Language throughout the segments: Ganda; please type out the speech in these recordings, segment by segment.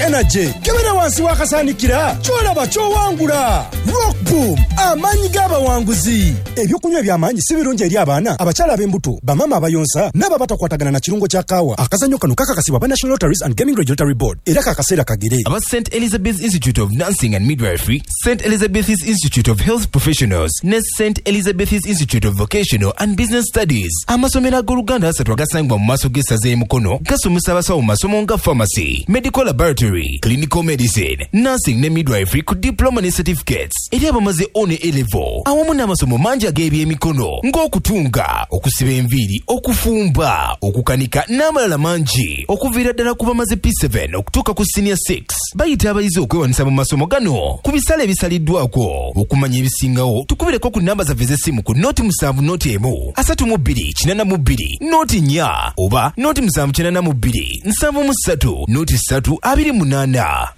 Energy. Kebera wansi w'akasaanikira ky'olaba ky'owangula. Rock Boom, amaanyi g'abawanguzi. Ebyokunywa eby'amaanyi si birungi eri abaana, abakyala ab'embuto, bamaama abayonsa n'abo abatakwatagana na kirungo kya kaawa. Akazannyo kano kakakasibwa aba National Lotteries and Gaming Regulatory Board era ka kaseera kagere. Aba St Elizabeth Institute of Nursing and Midwifery, St Elizabeth's Institute of Health Professionals ne St Elizabeth's Institute of Vocational and Business Studies. Amasomero ag'Oluganda asatu agasangibwa mu maaso g'essaza e Mukono gasomesa abasawo mu masomo nga pharmacy, medical laboratory, clinical medicine, nursing ne midwifery ku diploma ne certificates eri abamaze O ne A level awamu n'amasomo mangi ag'ebyemikono ng'okutunga, okusiba enviiri, okufumba, okukanika n'amalala mangi okuviira ddala ku bamaze P7 okutuuka ku senior 6. Bayita abayizi okwewandiisa mu masomo gano ku bisale ebisaliddwako. Okumanya ebisingawo tukubireko ku nnamba zaffe ez'essimu ku noti 7 noti 1 32 82 noti 4 oba noti 7 82 73 noti 3 28.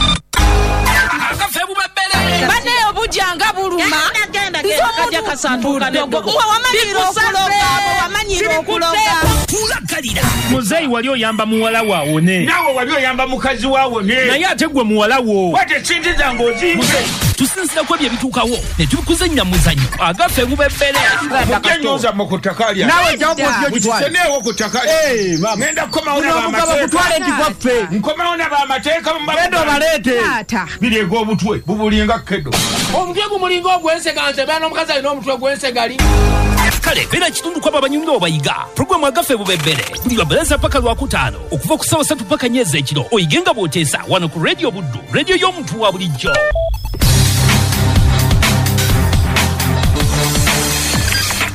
Bane obuja nga buluma. Nze omuntu mbu wamanyira okuloga, wamanyira okuloga. Tulagalira. Muzeeyi wali oyamba muwala wo awone. Naawe wali oyamba mukazi wo awone. Naye ate gwe muwala wo. Kwata esente zange ozimpe. Tusinzira ku ebyo ebituukawo ne tubikuzannya mu muzannyo agaffe gubebbere. Mujje ennyo zammwe ku ttaka lyange. Naawe jjawo bw'otyo ogitwale. Mukiseneewo ku ttaka lyange. Ngenda kukomawo Guno omugabo gutwale nti gwaffe. Nkomawo na bamateeka. Genda obaleete. Taata. Bireega obutwe bubulinga kedo. Omutwe gumulinga ogw'ensega nze mbeera n'omukazi alina omutwe gw'ensegali. Kale beera kitundu kw'abo abanyumirwa obayiga. Pulogulaamu agaffe bubebbere buli lwa Bbalaza paka Lwakutaano okuva ku ssaawa ssatu paka nnya ez'ekiro oyige nga bw'oteesa wano ku Radio Buddu, radio y'omuntu wa bulijjo.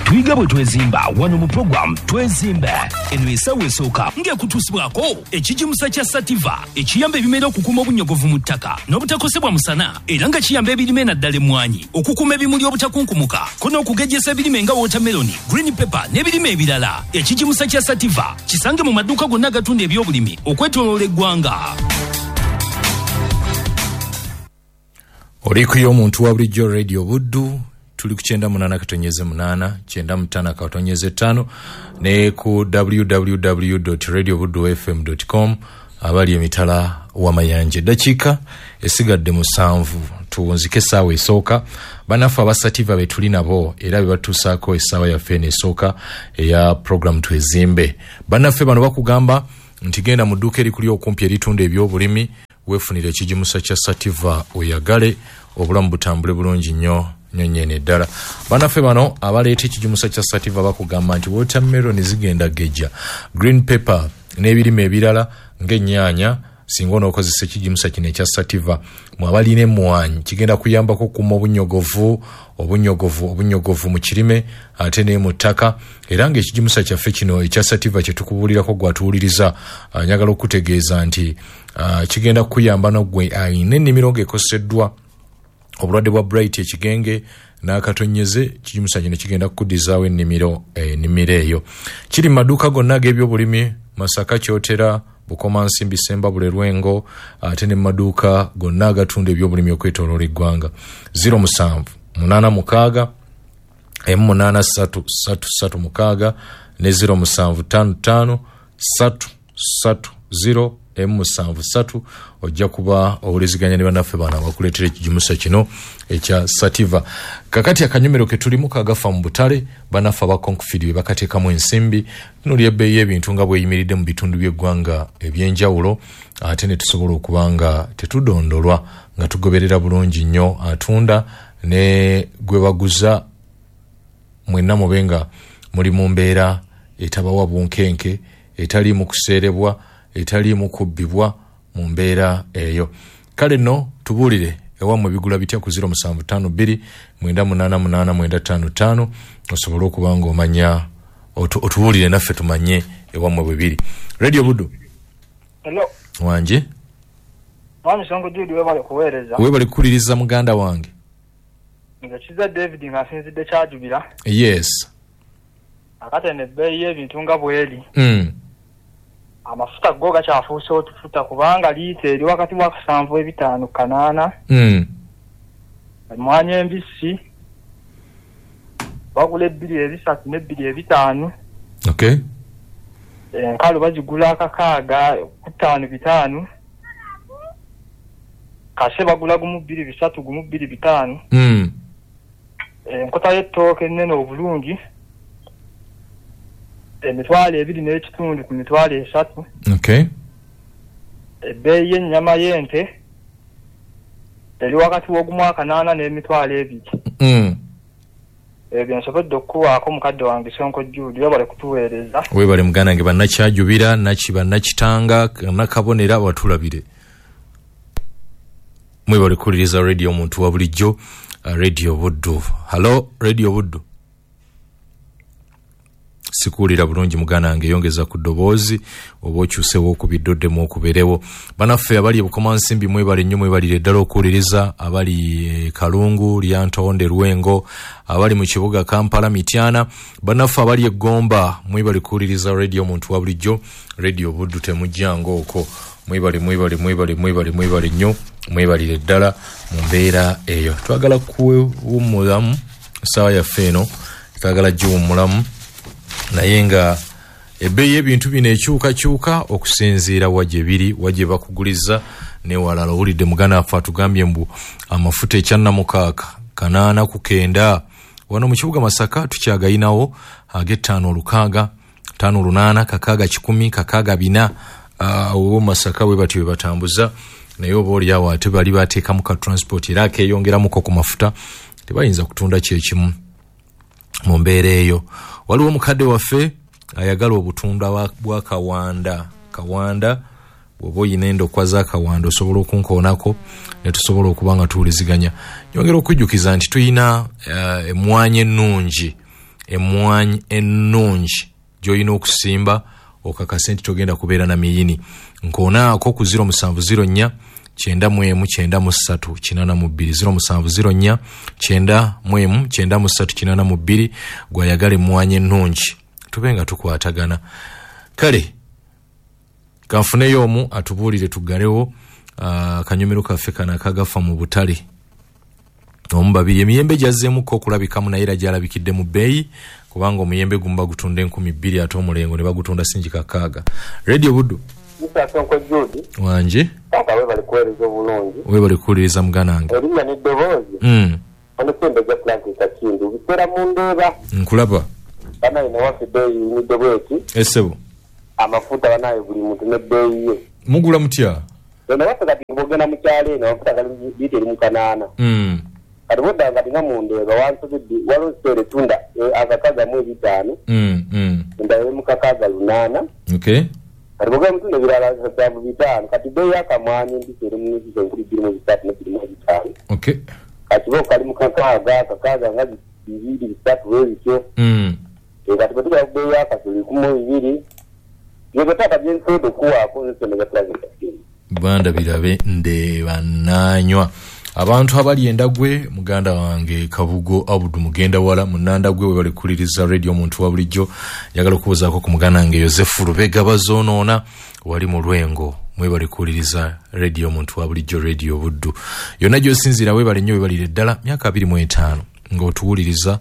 Tuyiga bwe twezimba wano mu pulogulaamu Twezimbe. Eno essaawa esooka ng'ekutuusibwako ekigimusa kya Sativa ekiyamba ebimera okukuuma obunnyogovu mu ttaka n'obutakosebwa musana era nga kiyamba ebirime naddala emmwanyi okukuuma ebimuli obutakunkumuka ko n'okugejjesa ebirime nga watermelon, green pepper n'ebirime ebirala. Ekigimusa kya Sativa kisange mu maduuka gonna agatunda ebyobulimi okwetooloola eggwanga. Oli ku y'omuntu wa bulijjo Radio Buddu tuli ku 98.8 95.5 ne ku www.radiobuddufm.com abali emitala w'amayanja. Eddakiika esigadde 7 tuwunzike essaawa esooka. Bannaffe aba Sativa be tuli nabo era be batuusaako essaawa yaffe eno esooka eya program Twezimbe. Bannaffe bano bakugamba nti genda mu dduuka erikuli okumpi eritunda ebyobulimi weefunire ekigimusa kya Sativa oyagale obulamu butambule bulungi nnyo nnyo nnyini ddala. Bannaffe bano abaleeta ekigimusa kya Sativa bakugamba nti watermelon zigenda gejja, green pepper n'ebirime ebirala ng'ennyaanya singa onookozesa ekigimusa kino ekya Sativa. Mwe abalina emmwanyi kigenda kuyambako okukuuma obunyogovu obunyogovu mu kirime ate ne mu ttaka. Era ng'ekigimusa kyaffe kino ekya Sativa kye tukubuulirako gw'atuwuliriza, njagala okutegeeza nti kigenda kukuyamba n'oggwe alina ennimiro ng'ekoseddwa obulwadde bwa Bright ekigenge n'akatonyeze. Ekigimusa kino kigenda kukuddizaawo ennimiro eyo. Kiri mu maduuka gonna ag'ebyobulimi Masaka, Kyotera, Bukomansimbi, Ssembabule, Lwengo ate ne mu maduuka gonna agatunda ebyobulimi okwetooloola eggwanga. 07 86 83 336 ne 0755 330 M73 ojja kuba owuliziganya ne bannaffe bano abakuleetera ekigimusa kino ekya Sativa. Kakati akanyomero ke tulimu kagafa mu butale, bannaffe aba Concfid be bakateekamu ensimbi. Tunuulira ebbeeyi y'ebintu nga bw'eyimiridde mu bitundu by'eggwanga eby'enjawulo ate ne tusobola okuba nga tetudondolwa nga tugoberera bulungi nnyo atunda ne gwe baguza, mwenna mube nga muli mu mbeera etabawa bunkenke, etaliimu kuseerebwa, etaliimu kubbibwa mu mbeera eyo. Kale nno tubuulire ewammwe bigula bitya ku 0752 988 955 osobole okuba ng'omanya otubuulire naffe tumanye ewammwe bwe biri. Radio Buddu. Hello. Wanje. Mwami Sonko Jude webale kuweereza. Webale kukuliriza muganda wange. Nze Kiza David nga nsinzidde Kyajubira. Yes. Akatene ebbeeyi y'ebintu nga bw'eri. Amafuta go gakyafuuse otufuta kubanga liita eri wakati wa 7.5 8. Emmwanyi embisi bagula 2.3 ne 2.5. Okay. Enkalu bazigula 6 ku 5.5. Kase bagula gumu 2 3 gumu 2 5. Enkota y'ettooke ennene obulungi 2.5 ku 3,000. Okay. Ebbeeyi y'ennyama y'ente eri wakati w'ogumwaka 8 n'2,000. Ebyo nsobodde okukuwaako mukadde wange Sonko Jude, webale kutuweereza. Webale muganda wange, bannakyajubira bannakitanga nakabonera batulabire. Mwebale kuwuliriza radio omuntu wa bulijjo, Radio Buddu. Halo Radio Buddu. Sikuwulira bulungi muganda wange, yongeza ku ddoboozi oba okyusewo okubiddoddemu okubeerewo. Bannaffe abali e Bukomansimbi mwebale nnyo, mwebalire ddala okuwuliriza, abali Kalungu, Lyantonde, Lwengo, abali mu kibuga Kampala, Mityana, bannaffe abali e Gomba mwebale kuwuliriza radio omuntu wa bulijjo, Radio Buddu temujjanga okwo. Mwebale mwebale mwebale mwebale mwebale nnyo, mwebalire ddala mu mbeera eyo. Twagala kuwummulamu essaawa yaffe eno, twagala giwummulamu, naye nga ebbeeyi y'ebintu bino ekyukakyuka okusinziira wa gye biri, wa gye bakuguliza newalala. Owulidde muganda waffe atugambye mbu amafuta ekyannamukaaga 8 ku 9. Wano mu kibuga Masaka tukyagayinawo ag'ettaano 6, 5 8, 6 1, 6 4. Owo Masaka we batyo we batambuza, naye oba oliawo ate bali bateekamu ka transport era akeeyongeramuko ku mafuta, tebayinza kutunda kyekimu mu mbeera eyo. Waliwo omukadde waffe ayagala obutunda bwa kawanda. Kawanda bw'oba oyina endokwa za kawanda osobola okunkoonako ne tusobola okuba nga tuwuliziganya. Nyongera okujjukiza nti tulina emmwanyi ennungi, emmwanyi ennungi gy'olina okusimba okakase nti togenda kubeera na miyini. Nkoonaako ku 0704 91 93 82, 0704 91 93 82, gwayagala emmwanyi ennungi, tube nga tukwatagana. Kale kanfuneyo omu atubuulire tuggalewo akanyomero kaffe kano akagafa mu butale. Omu babiri, emiyembe gyazzeemuko okulabikamu naye era gyalabikidde mu bbeeyi, kubanga omuyembe gumu bagutunda 2,000 ate omulengo ne bagutunda singi 6. Radio Buddu. Sonko Jude. Wanje. Papa webale kuweereza obulungi. Webale kuwuliriza muganda wange. Erinnya n'eddoboozi. Ono Ssembe gya Francis Kakindu. Biseera mu ndeeba. Nkulaba. Banaye newaffe ebbeeyi yimidde bweti. Essebo. Amafuta banaye buli muntu n'ebbeeyi ye. Mugula mutya? Eno waffe kati bw'ogenda mu kyalo eno amafuta gali liita eri mu 8. Kati bw'odda kati nga mu ndeeba wansobedde waliwo siteera etunda akakaga mu 5. Endala eri mu 6 8. Okay. Kati bw'ogenda mu tunda ebirala 75. Kati bbeeyi y'akamwanyi empisi eri mu 2,300 ne 2,500. Okay. Kati bo kali mu 6 6 nga 2 3 bwe bityo. Kati bwe tugala ku bbeeyi y'akasolo 12. Byebetaka byensobola okuwaako nze Ssembe gya Francis Kakindu. Banda birabe ndeeba naanywa. Abantu abali endagwe, muganda wange Kabugo Abudu mugenda wala munandagwe, webale kuwuliriza radio omuntu wa bulijjo. Njagala okubuuzaako ku muganda wange Yosefu Lubega Bazoonoona wali mu Lwengo, mwebale kuwuliriza radio omuntu wa bulijjo, Radio Buddu. Yonna gy'osinziira webale nnyo, webalire ddala. Myaka 25 ng'otuwuliriza,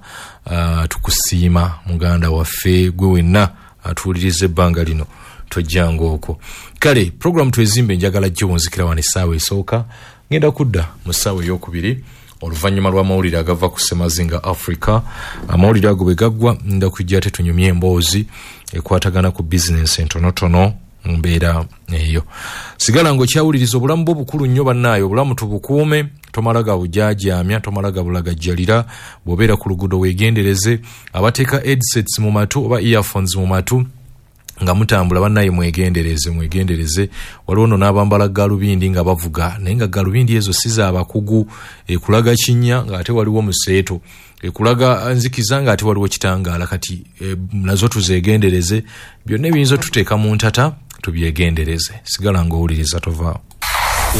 tukusiima muganda waffe gwe wenna atuwuliriza ebbanga lino, tojjanga okwo. Kale program twezimbe njagala giwunzikira wano essaawa esooka, ngenda kudda mu ssaawa ey'okubiri oluvannyuma lw'amawulire agava ku Ssemazinga Africa. Amawulire ago bwe gaggwa nda kujja ate tunyumye emboozi ekwatagana ku bizinensi entonotono mu mbeera eyo. Sigala ng'okyawuliriza obulamu bwo bukulu nnyo bannaayo, obulamu tubukuume, tomala gabujaajaamya, tomala gabulagajjalira. Bw'obeera ku luguudo weegendereze, abateeka headsets mu matu oba earphones mu matu nga mutambula bannaye mwegendereze, mwegendereze. Waliwo nno n'abambala galubindi nga bavuga, naye nga galubindi ezo si z'abakugu, ekulaga kinnya ng'ate waliwo museeto, ekulaga nzikiza ng'ate waliwo kitangaala. Kati nazo tuzeegendereze, byonna ebiyinza otuteeka mu ntata tubyegendereze. Sigala ng'owuliriza, tovaawo.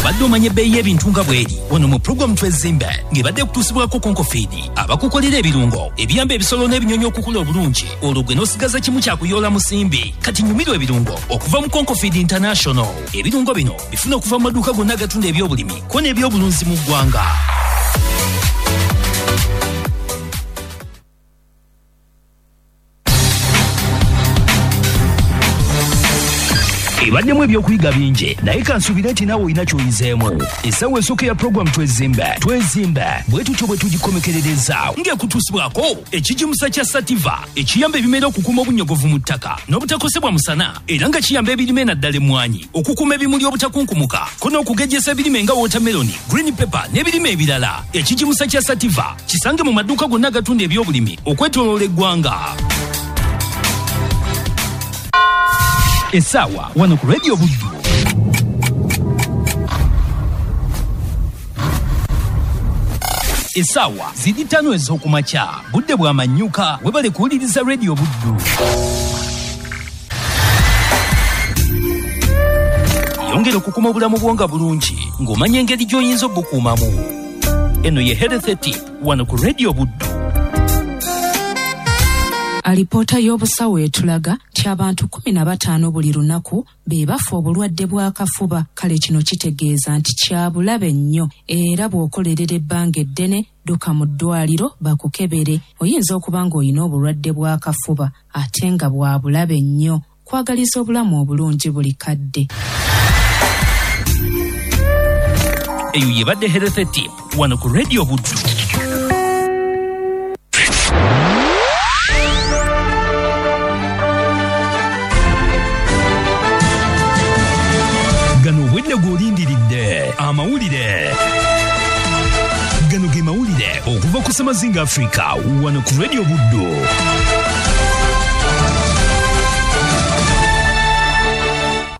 Obadde omanya ebbeeyi y'ebintu nga bw'eri wano mu pulogulaamu Twezimbe ng'ebadde ekutuusibwako Konkofiidi abakukolera ebirungo ebiyamba ebisolo n'ebinyonyi okukula obulungi, olwo gwe n'osigaza kimu kyakuyoola musimbi. Kati nyumirwa ebirungo okuva mu Konkofiidi International. Ebirungo bino bifuna okuva mu maduuka gonna agatunda ebyobulimi ko n'ebyobulunzi mu ggwanga. Ebaddemu ebyokuyiga bingi, naye kansuubire nti naawe olina ky'oyizeemu. Essaawa esooka ya puroguramu Twezimbe Twezimbe bwe tutyo bwe tugikomekerereza ng'ekutuusibwako ekigimusa kya Sativa ekiyamba ebimera okukuuma obunyogovu mu ttaka n'obutakosebwa musana, era nga kiyamba ebirime naddala emmwanyi okukuuma ebimuli obutakunkumuka ko n'okugejjesa ebirime nga watermelon, green pepper n'ebirime ebirala. Ekigimusa kya Sativa kisange mu maduuka gonna agatunda ebyobulimi okwetooloola eggwanga. Essaawa wano ku Radio Buddu. Essaawa ziri 5 ez'okumakya, budde bwa manyuka. Webale kuwuliriza Radio Buddu. Yongera okukuuma obulamu bwo nga bulungi ng'omanya engeri gy'oyinza obukuumamu. Eno ye Health Tip wano ku Radio Buddu. Alipoota y'obusawo etulaga nti abantu 15 buli lunaku be bafa obulwadde bw'akafuba. Kale kino kitegeeza nti kya bulabe nnyo, era bw'okolerera ebbanga eddene dduka mu ddwaliro bakukebere. Oyinza okuba ng'olina obulwadde bw'akafuba ate nga bwa bulabe nnyo. Kwagaliza obulamu obulungi buli kadde. Eyo yebadde Health Tip wano ku Radio Buddu. Gano obwedde gw'olindiridde amawulire. Gano ge mawulire okuva ku Semazinga Africa wano ku Radio Buddu.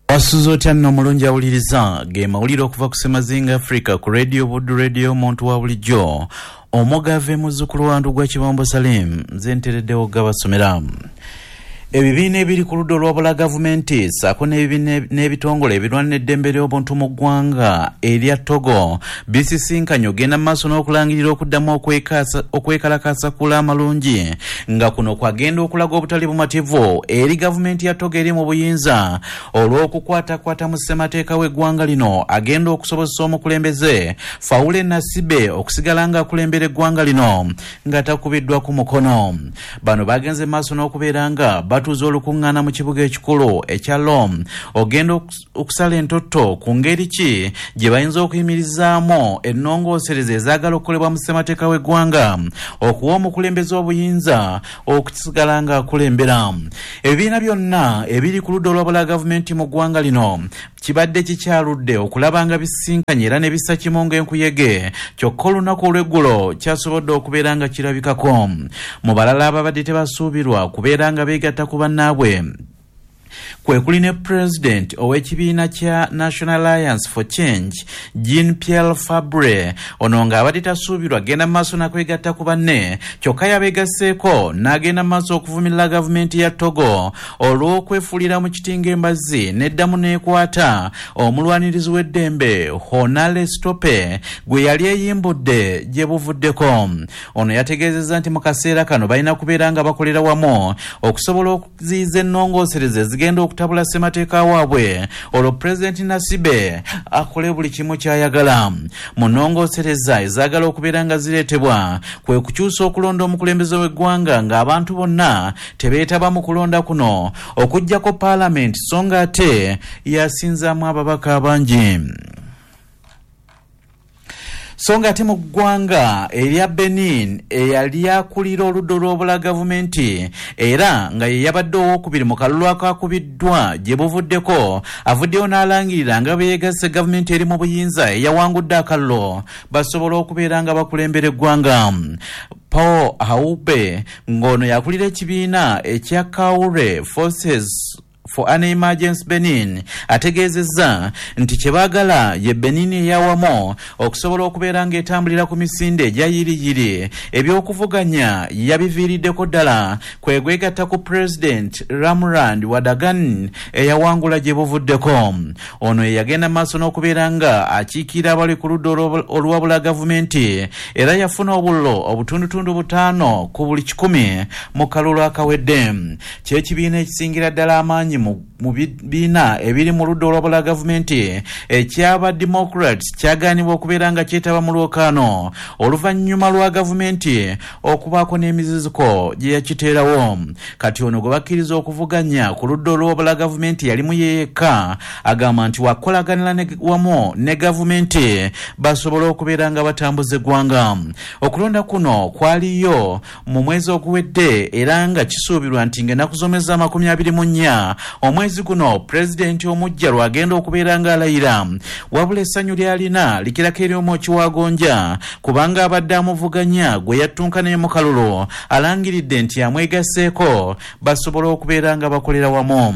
Wasuze otya nno omulungi awuliriza ge mawulire okuva ku Semazinga Africa ku Radio Buddu, Radio omuntu wa bulijjo. Omugave muzzukulu wa Ndugwa Kibombo Salim, nze ntereddewo gabasomera. Ebibiina ebiri ku ludda olwabula gavumenti ssaako n'ebitongole ebirwana eddembe ly'obuntu mu ggwanga erya Togo bisisinkanye ogenda mu maaso n'okulangirira okuddamu okwekalakaasa kula amalungi, nga kuno kwagenda okulaga obutali bumativu eri gavumenti ya Togo eri mu buyinza olw'okukwatakwata mu ssemateeka w'eggwanga lino agenda okusobozesa omukulembeze Faure Nasibe okusigala ng'akulembera eggwanga lino nga takubiddwa ku mukono. Bano bagenze mu maaso n'okubeera nga batuuza olukuŋŋaana mu kibuga ekikulu ekya Lom ogenda okusala entotto ku ngeri ki gye bayinza okuyimirizaamu ennongoosereza ezaagala okukolebwa mu ssemateeka w'eggwanga okuwa omukulembeze obuyinza okusigala ng'akulembera. Ebibiina byonna ebiri ku ludda olwabula gavumenti mu ggwanga lino kibadde kikyaludde okulaba nga bisisinkanye era ne bissa kimu ng'enkuyege, kyokka olunaku olw'eggulo kyasobodde okubeera nga kirabikako. Mu balala ababadde tebasuubirwa kubeera nga beegatta ku bannaabwe kwe kuli ne pulezidenti ow'ekibiina kya National Alliance for Change Jean Pierre Fabre, ono ng'abadde tasuubirwa agenda mu maaso nakwegatta ku banne, kyokka yabeegasseeko n'agenda mu maaso okuvumirira gavumenti ya Togo olw'okwefuulira mu kiti ng'embazzi n'eddamu n'ekwata omulwanirizi w'eddembe Honore Stope gwe yali eyimbudde gye buvuddeko. Ono yategeezezza nti mu kaseera kano balina kubeera nga bakolera wamu okusobola okuziyiza ennongoosereza ezigenda okutabula ssemateeka waabwe, olwo pulezidenti Nasibe akole buli kimu ky'ayagala. Mu nnongoosereza ezaagala okubeera nga zireetebwa kwe kukyusa okulonda omukulembeze w'eggwanga ng'abantu bonna tebeetaba mu kulonda kuno okuggyako paalamenti, so nga ate yasinzaamu ababaka abangi. So nga ate mu ggwanga erya Benin eyali akulira oludda olw'obula gavumenti era nga ye yabadde owookubiri mu kalulu akakubiddwa gye buvuddeko avuddeyo n'alangirira nga bwe yeegasse gavumenti eri mu buyinza eyawangudde akalulu basobola okubeera nga bakulembera eggwanga. Paul Haube ng'ono yakulira ekibiina ekya Kaure Forces for an Emergency Benin ategeezezza nti kye baagala ye Benin eyawamu okusobola okubeera ng'etambulira ku misinde egya yiriyiri. Ebyokuvuganya yabiviiriddeko ddala kwe gwegatta ku President Ramrand Wadagan eyawangula gye buvuddeko. Ono ye yagenda maaso n'okubeera nga akiikirira abali ku ludda oluwabula gavumenti era yafuna obululu obutundutundu 5 ku buli 100 mu kalulu akawedde. Ky'ekibiina ekisingira ddala amaanyi mu bibiina ebiri mu ludda olwabula gavumenti ekyaba Democrats kyagaanibwa okubeera nga kyetaba mu lwokaano oluvannyuma lwa gavumenti okubaako n'emiziziko gye yakiteerawo. Kati ono gwe bakkiriza okuvuganya ku ludda olwabula gavumenti yalimu ye yekka, agamba nti wakolaganira wamu ne gavumenti basobole okubeera nga batambuza eggwanga. Okulonda kuno kwaliyo mu mwezi oguwedde era nga kisuubirwa nti ng'ennaku z'omwezi 24 omwezi guno pulezidenti omujja lwagenda okubeera ng'alayira. Wabula essanyu ly'alina likirako eri omwoki wa gonja, kubanga abadde amuvuganya gwe yattunka naye mu kalulu alangiridde nti amwegasseeko basobole okubeera nga bakolera wamu.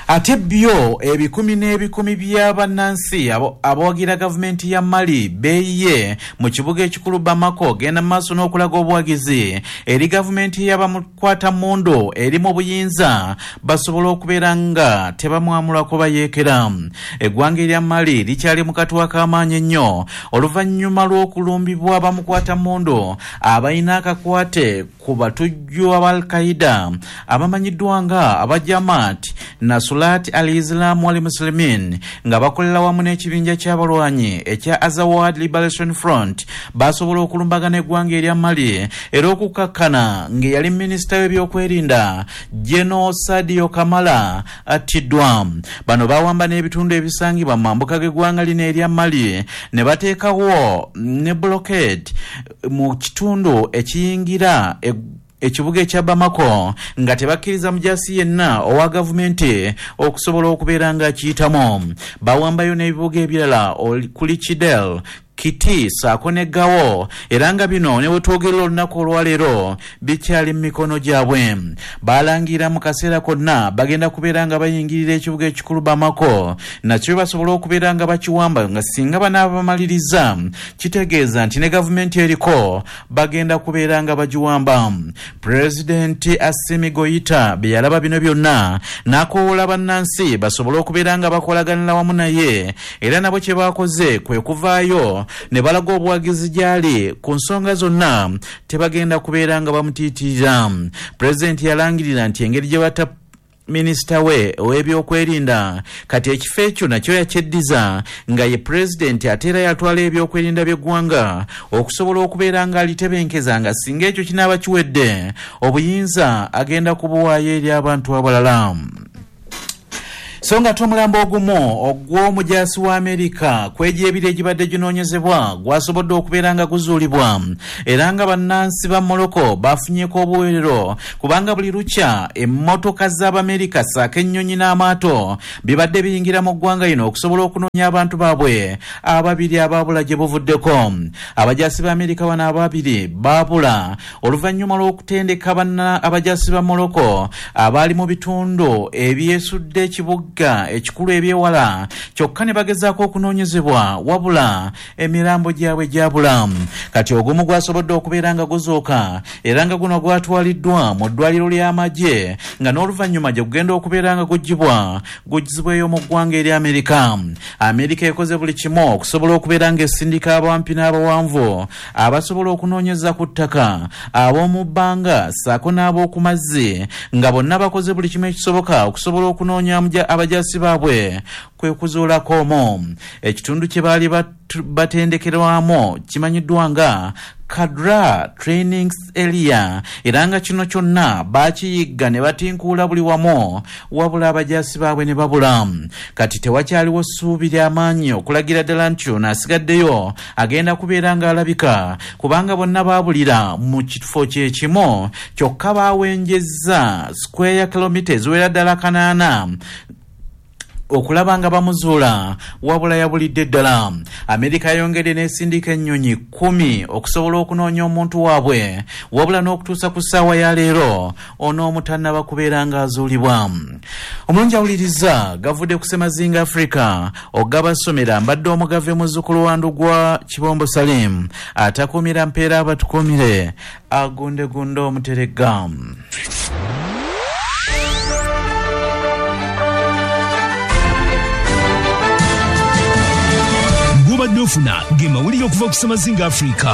Ate byo ebikumi n'ebikumi by'abannansi abawagira gavumenti ya Mali beeyiye mu kibuga ekikulu Bamako genda mu maaso n'okulaga obuwagizi eri gavumenti y'abamukwatammundu eri mu buyinza basobole okubeera nga tebamwamulako bayeekera. Eggwanga erya Mali likyali mu katwa k'amaanyi ennyo oluvannyuma lw'okulumbibwa abamukwatammundu abalina akakwate ku batujju aba Al-Qaeda abamanyiddwa nga aba Jamaat Nasulat al-Islam wal Muslimin nga bakolera wamu n'ekibinja ky'abalwanyi ekya Azawad Liberation Front basobola okulumbagana eggwanga erya Mali era okukakkana ng'eyali minisita w'ebyokwerinda General Sadio Kamara attiddwa. Bano bawamba n'ebitundu ebisangibwa mu mambuka g'eggwanga lino erya Mali ne bateekawo ne blockade mu kitundu ekiyingira ekibuga ekya Bamako nga tebakkiriza mujasi yenna owa gavumenti okusobola okubeera nga akiyitamu. Bawambayo n'ebibuga ebirala kuli Kidal, Kiti saako ne Gao, era nga bino ne wetwogerera olunaku olwaleero bikyali mu mikono gyabwe. Balangira mu kaseera konna bagenda kubeera nga bayingirira ekibuga ekikulu Bamako nakyo basobola okubeera nga bakiwamba, nga singa banaaba bamaliriza kitegeeza nti ne gavumenti eriko bagenda kubeera nga bagiwamba. Pulezidenti Assimi Goïta bye yalaba bino byonna n'akowoola bannansi basobole okubeera nga bakolaganira wamu naye, era nabo kye baakoze kwe kuvaayo ne balaga obuwagizi gy'ali ku nsonga zonna, tebagenda kubeera nga bamutiitirira. Pulezidenti yalangirira nti engeri gye bata minisita we ow'ebyokwerinda kati ekifo ekyo nakyo yakyeddiza nga ye pulezidenti ate era yatwala ebyokwerinda by'eggwanga okusobola okubeera nga alitebenkeza, nga singa ekyo kinaaba kiwedde obuyinza agenda kubuwaayo eri abantu abalala. So nga omulambo ogumu ogw'omujaasi wa Amerika kwegyo ebiri egibadde ginoonyezebwa gwasobodde okubeera nga guzuulibwa, era nga bannansi ba Morocco bafunyeeko obuweerero kubanga buli lukya emmotoka z'Abamerika ssaako ennyonyi n'amaato bibadde biyingira mu ggwanga lino okusobola okunoonya abantu baabwe ababiri abaabula gye buvuddeko. Abajaasi ba Amerika bano ababiri baabula oluvannyuma lw'okutendeka abajaasi ba Morocco abaali mu bitundu ebyesudde ekibuga ekikulu ebyewala, kyokka ne bagezaako okunoonyezebwa wabula emirambo gyabwe gyabula. Kati ogumu gwasobodde okubeera nga guzuuka era nga guno gwatwaliddwa mu ddwaliro ly'amagye nga n'oluvannyuma gye gugenda okubeera nga guggyibweyo mu ggwanga eri Amerika. Amerika ekoze buli kimu okusobola okubeera ng'esindika abampi n'abawanvu abasobola okunoonyeza ku ttaka, ab'omu bbanga ssaako n'ab'oku mazzi, nga bonna bakoze buli kimu ekisoboka okusobola okunoonya abajaasi baabwe kwe kuzuulako omwo. Ekitundu kye baali batendekerwamu kimanyiddwa nga Kadra Training Area, era nga kino kyonna bakiyigga ne batinkuula buli wamu wabula abajaasi baabwe ne babula. Kati tewakyaliwo ssuubi ly'amaanyi okulagira ddala nti ono asigaddeyo agenda kubeera ng'alabika, kubanga bonna baabulira mu kifo kye kimu, kyokka baawenjezza square kilomita eziwera ddala 8 okulaba nga bamuzuula, wabula yabulidde ddala. Amerika yayongedde n'esindika ennyonyi 10 okusobola okunoonya omuntu waabwe, wabula n'okutuusa ku ssaawa ya leero ono omutannaba kubeera ng'azuulibwa. Omulungi awuliriza gavudde ku Ssemazinga Africa ogabasomera mbadde omugave muzzukulu wa Ndugwa Kibombo Salim atakuumira mpeera abatukuumire agundegunde omuteregga. Gobadde ofuna ge mawulire okuva ku Ssemazinga Africa.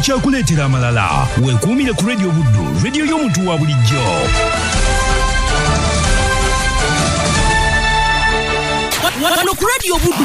Tukyakuleetera amalala. Weekuumire ku Radio Buddu, radio y'omuntu wa bulijjo. Wano ku Radio Buddu.